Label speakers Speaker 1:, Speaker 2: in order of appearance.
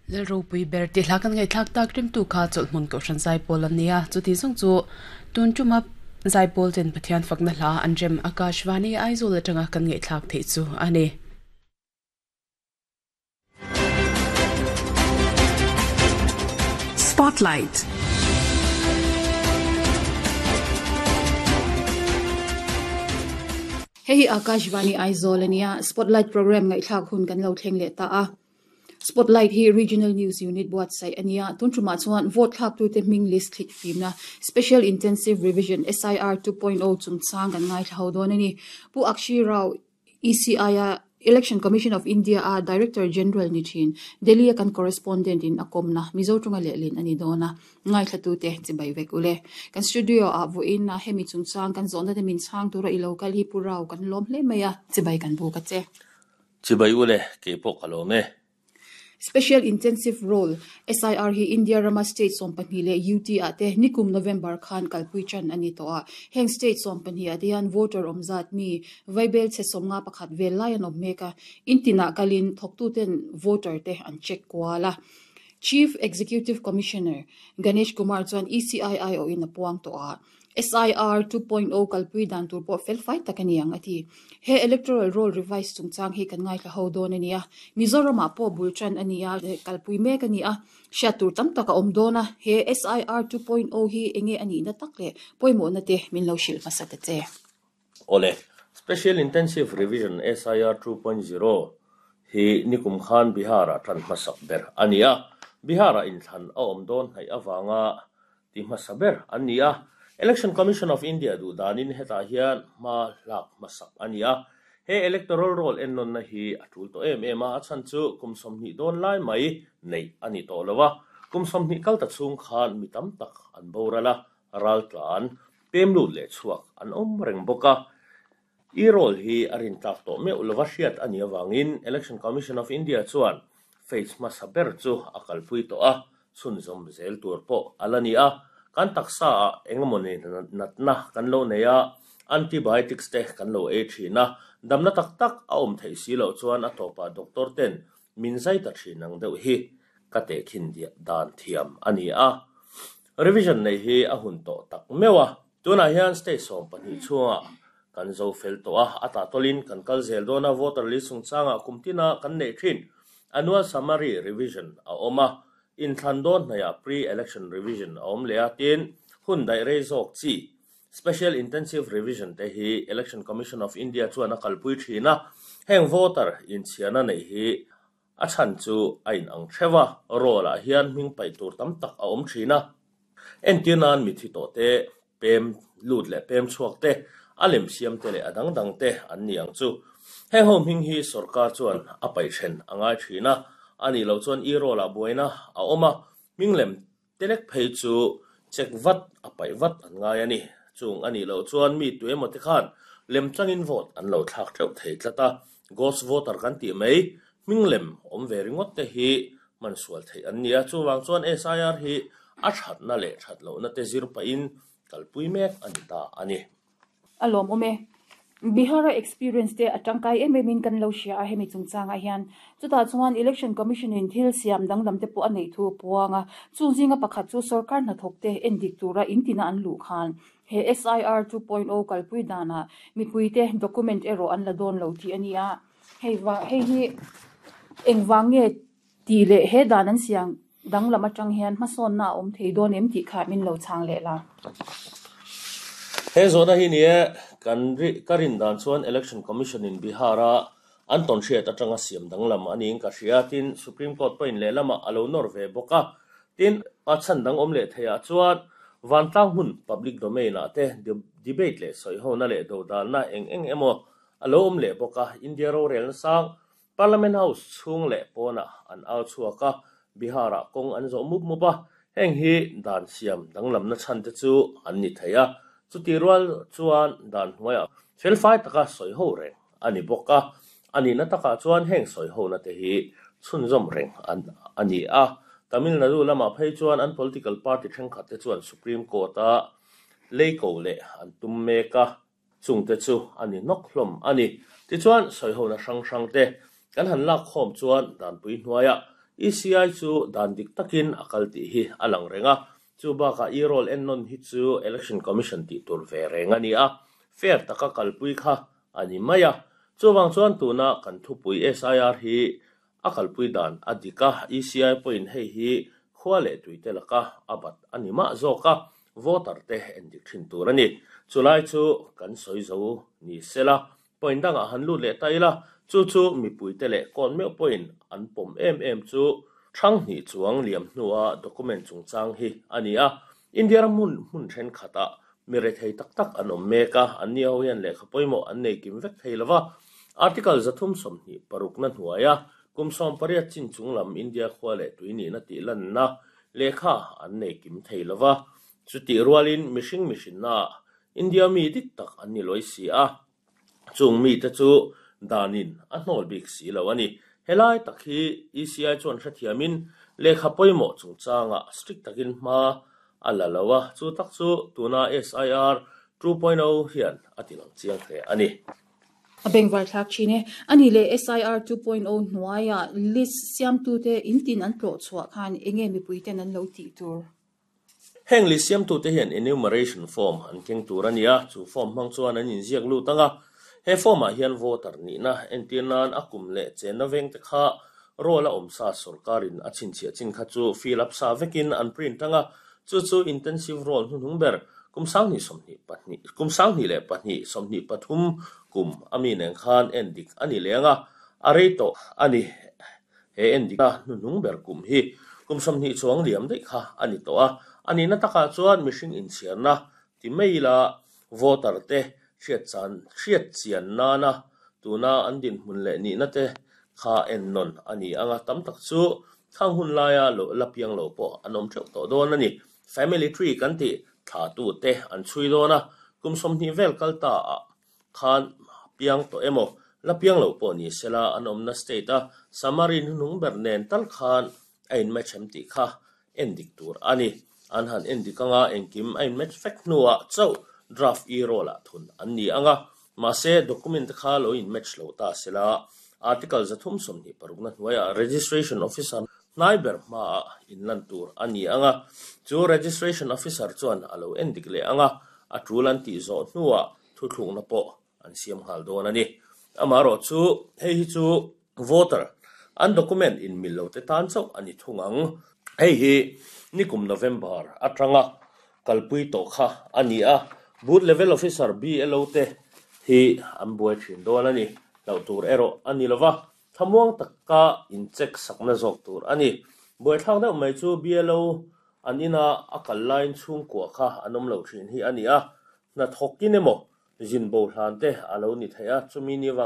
Speaker 1: Lalropui ber tih hla kan ngaihthlak tak rimtu kha chawlhhmun kohhran zaipawl an ni a, chuti zawng chu tun tuma zaipawl ten Pathian fakna hla an rem Akashvani Aizawl atanga kan ngaihthlak theih chu a ni.
Speaker 2: Spotlight.
Speaker 3: Hei hi Akashvani Aizawl a nia, Spotlight program ngaihthlak hun kan lo thleng leh ta a. Spotlight hi Regional News Unit buatsaih a nia, tun tumah chuan vote thlaktute hming list thlit fimna Special Intensive Revision, SIR, 2.0 chungchang kan ngaithla ho dawn a ni. Pu Akshi Rao, ECI-a Election Commission of India-a Director General ni thin, Delhi-a kan correspondent in a kawmna Mizo tunga lehlin a ni dawn a, ngaithlatute chibai vek ule. Kan studio-ah vawiin a hemi chungchang kan zawhna te min chhang tura i lo kal hi Pu Rao kan lawm hle mai a, chibai kan buk a che.
Speaker 4: Chibai ule, keipawh ka lawm e.
Speaker 3: Special Intensive Roll, SIR, hi India rama state 12 leh UT ah te nikum November khan kalpui tan a ni tawh a. Heng state 12 ah te hian voter awm zat mi vaibel chhe 51 vel lai an awm mek a, in tinah kalin thawktuten voter te an check kual a. Chief Executive Commissioner Ganesh Kumar chuan ECI aiawhin a puang tawh a. SIR 2.0 kalpui dan tur pawh fel fai tak a ni ang a ti. He Electoral Roll Revise chungchang hi kan ngaithla ho dawn a ni a, Mizoramah pawh bul tan a ni a, kalpui mek a ni a, hriat tur tam tak a awm dawn a, he SIR 2.0 hi enge a nihna tak leh pawimawhna te min lo hrilh hmasa ta che.
Speaker 4: Awle, Special Intensive Revision, SIR 2.0, hi nikum khan Bihar-ah tan hmasak ber a ni a, Bihar-ah inthlan a awm dawn hnaih avanga ti hmasa ber an ni a. Election Commission of India duh danin hetah hian hma hlak hmasak a ni a. He electoral roll ennawnna hi a tul tawh em em a, a chhan chu kum 20 dawn lai mai neih a ni tawh lo a. Kum 20 kal ta chhung khan mi tam tak an boral a, raltlan, pem lut leh chhuak an awm reng bawk a. E-roll hi a rintlak tawh meuh lova hriat a nih avangin Election Commission of India chuan phase hmasa ber chu a kalpui tawh a, chhunzawm zel tur pawh a la ni a. Kan taksa ah engemawni natna kan lo nei a, antibiotics te kan lo ei thin a, damna tak tak a awm theih si loh chuan a tawpah doctor ten min zai ta thin ang deuh hi ka tehkhin dan thiam a ni a. Revision neih hi a hun tawh tak meuh a. Tunah hian state 12 chhungah kan zo fel tawh a, a tahtawlin kan kal zel dawn a, voter list chungchangah kum tina kan neih thin. Annual summary revision a awm a, inthlan dawn hnaihah pre-election revision a awm leh a, tin, hun daih rei zawk chi Special Intensive Revision te hi Election Commission of India chuan a kalpui thin a, heng voter inchhiarna neih hi A chhan chu a inang theuh a, roll ah hian hming paih tur tam tak a awm thin a. Entir nan mithi tawh te, pem lut leh pem chhuak te, a lem siam te leh a dang dang te an ni ang chu. Heng ho hming hi sorkar chuan a paih then a ngai thin a, a nih loh chuan e-roll ah buaina a awm a, hming lem Telek phei chu check vat a paih vat an ngai a ni. Chung a nih loh chuan mi tu emaw te khan lemchangin vote an lo thlak teuh thei tlat a, ghost voter kan tih mai, hming lem awm ve ringawt te hi hman sual theih an ni a. Chuvang chuan SIR hi a thatna leh that lohna te zir pahin kalpui mek a ni ta a ni.
Speaker 3: A lawmawm e. Bihar-a experience te a tangkai em em in kan lo hria a hemi chungchangah hian. Chutah chuan Election Commission in thil siam danglam te pawh a neih thu a puang a. Chung zinga pakhat chu sorkar hnathawk te endik tura in tina an luh khan he SIR 2.0 kalpui danah mipui te document erawh an la dawn lo tih a ni a. Hei va hei hi engvang nge tih leh he dan an siam danglam atang hian hmasawnna a awm thei dawn em tih kha min lo chhang leh la.
Speaker 4: He zawhna hi ni e, kan ri ka rin dan chuan Election Commission in Bihar a an tawn hriat atanga siam danglam a niin ka hria, tin Supreme Court pawhin lehlamah a lo nawr ve bawk a, tin a chhan dang awm leh theiah chuan vantlang hmun public domain ah te debate leh sawihona leh dodalna eng eng emaw a lo awm leh bawk a, India rorelna sang Parliament House chhung leh pawnah an au chhuak a, Bihar-ah kawng an zawh mup mup a, heng hi dan siam danglamna chhan te chu an ni thei a, chutih rual chuan dan hnuaiah felfai taka sawi ho reng a ni bawk a, a nihna takah chuan heng sawi hona te hi chhunzawm reng a ni a. Tamil Nadu lamah phei chuan an political party thenkhat te chuan Supreme Court-a lei ko leh an tum mek a, Chungte chu a ni nawk hlawm a ni. Tichuan, sawihona hrang hrangte kan han lak khawm chuan danpui hnuaiah ECI chu dan dik takin a kal tih hi a lang reng a, chu bakah e-roll ennawn hi chu Election Commission tih tur ve reng a ni a, fair taka kalpui kha a ni mai a. Chuvang chuan tuna kan thupui SIR hi a kalpui dan a dik a, ECI pawhin hei hi khua leh tuite laka a bat a ni mah zawk a, voter te endik thin tur a ni. Chulai chu kan sawi zo ni sela, Point dangah han lut leh ta ila, chu chu mipuite leh kawn meuh pawhin an pawm em em chu Thang hnih chuang liam hnua document chungchang hi a ni a. India ram hmun hmun thenkhatah mi rethei tak tak an awm mek a, anni ho hian lehkha pawimawh an nei kim vek thei lova. Article 326 na hnuaia kum 18 chin chung lam India khua leh tui nihna tih lanna lehkha an nei kim thei lova. Chutih rualin mihring mihrinnaah India mi dik tak an ni lawi si a, chung mite chu danin a hnawl bik si lo a ni. Helai tak hi ECI chuan hrethiamin lehkha pawimawh chungchangah strict takin hma a la lo a, chu tak chu tuna SIR 2.0 hian a ti lang chiang hle a ni.
Speaker 3: A bengvar thlak thin e. A nih leh SIR 2.0 hnuaiah list siamtute intin an tlawh chhuah khan enge mipuiten an lo tih tur?
Speaker 4: Heng list siamtute hian enumeration form an keng tur a ni a, chu form hmang chuan an inziak lut ang a. He form-ah hian voter nihna entir nan a kum leh chenna vengte kha roll a awm sa sorkarin a chhinchhiah chin kha chu fill up sa vekin an print ang a, chu chu intensive roll hnuhnung ber kum 2022 kum 2002 23 kum a mi nen khan endik a ni leng a, a rei tawh a ni. He endikna hnuhnung ber kum hi kum 20 chuang liam daih kha a ni tawh a, a nihna takah chuan mihring inchhiarna ti mai ila voter te hriatchan hriat chian nana tuna an dinhmun leh nihna te kha ennawn a ni ang a, tam tak chu khang hun laia lo la piang lo pawh an awm theuh tawh dawn a ni. Family tree kan tih thlatu te an chhui dawn a, kum 20 vel kal ta ah khan piang tawh emaw, la piang loh pawh ni sela an awmna state a summary hnuhnung ber nen tal khan a in match em tih kha endik tur a ni. An han endik anga engkim a in match vek hnuah chauh draft e-roll ah thun an ni anga, mahse document te kha lo in match lo ta sela Article 326 na hnuaiah Registration Officer hnai ber hmaah inlan tur a ni anga, chu Registration Officer chuan a lo endik leh anga, a tul an tih zawh hnuah thuthlukna pawh an siam nghal dawn a ni. Amaherawh chu hei hi chu voter an document inmil lo te tan chauh a ni thung ang. Hei hi nikum November atanga kalpui tawh kha a ni a, Booth Level Officer, BLO, te hi an buai thin dawn a ni. Hlauh tur erawh a ni lova, thlamuang taka in check sakna zawk tur a ni. Buaithlak deuh mai chu BLO an ina a kal laiin chhungkua kha an awm lo thin hi a ni a, hnathawkin emaw zin bo hlan te a lo ni thei a, chumi ni vang.